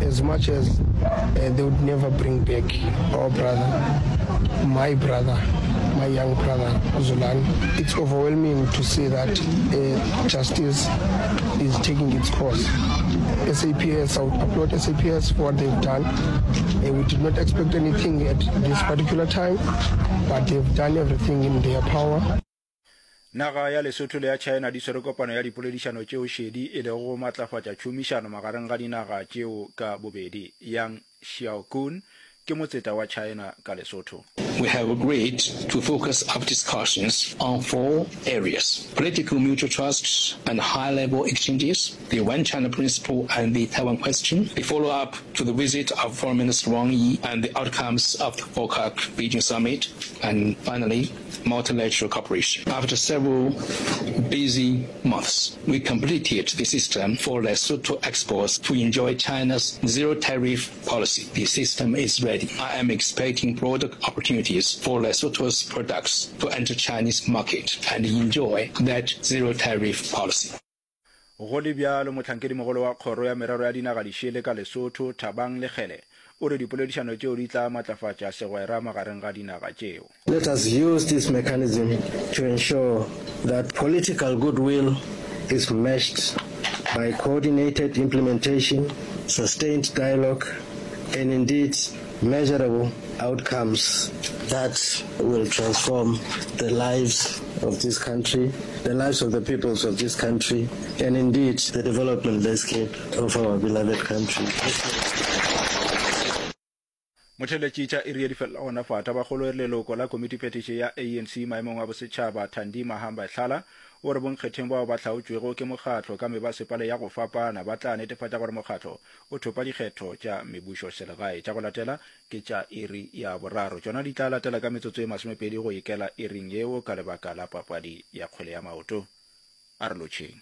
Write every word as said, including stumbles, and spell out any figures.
As much as they would never bring back our brother, my brother, my young brother Zolani, it's overwhelming to see that justice is taking its course. S A P S, I would applaud S A P S for what they've done. We did not expect anything at this particular time, but they've done everything in their power. Naga ya Lesotho le ya China di swere kopano ya dipoledišano tšeo šedi e lego go matlafatša tšhomišano magareng ga dinaga tšeo ka bobedi. Yang Xiaokun ke motseta wa China ka Lesotho. We have agreed to focus our discussions on four areas, political mutual trust and high-level exchanges, the One China principle and the Taiwan question, the follow-up to the visit of Foreign Minister Wang Yi and the outcomes of the FOCAC Beijing summit, and finally, multilateral cooperation. After several busy months, we completed the system for Lesotho exports to enjoy China's zero tariff policy. The system is ready. I am expecting broader opportunities for Lesotho's products to enter Chinese market and enjoy that zero tariff policy. Go le bjalo, mohlankedimogolo wa Kgoro ya Merero ya Dinaga Dišele ka Lesotho, Thabang Lekgele, o re dipoledišano tšeo di tla matlafatša segwera magareng ga dinaga tšeo. Let us use this mechanism to ensure that political goodwill is matched by coordinated implementation, sustained dialogue and indeed measurable outcomes that will transform the lives of this country, the lives of the peoples of this country and indeed the development landscape of our beloved country. Motheeletši tša iri ye di felela gona fa. Tabakgolo e re leloko la komitiphethiši ya A N C maemong a bosetšhaba Thandi Mahamba-Hlala o re bonkgetheng bao ba hlaotšwego ke mokgatlo ka mebasepala ya go fapana ba tla netefatša gore mokgatlo o thopa dikgetho tša mebušoselegae. Tša go latela ke tša iri ya boraro. Tšona di tla latela ka metsotso e masomepedi go ikela iring yeo ka lebaka la papadi ya kgwele ya maoto. A re lotšheng.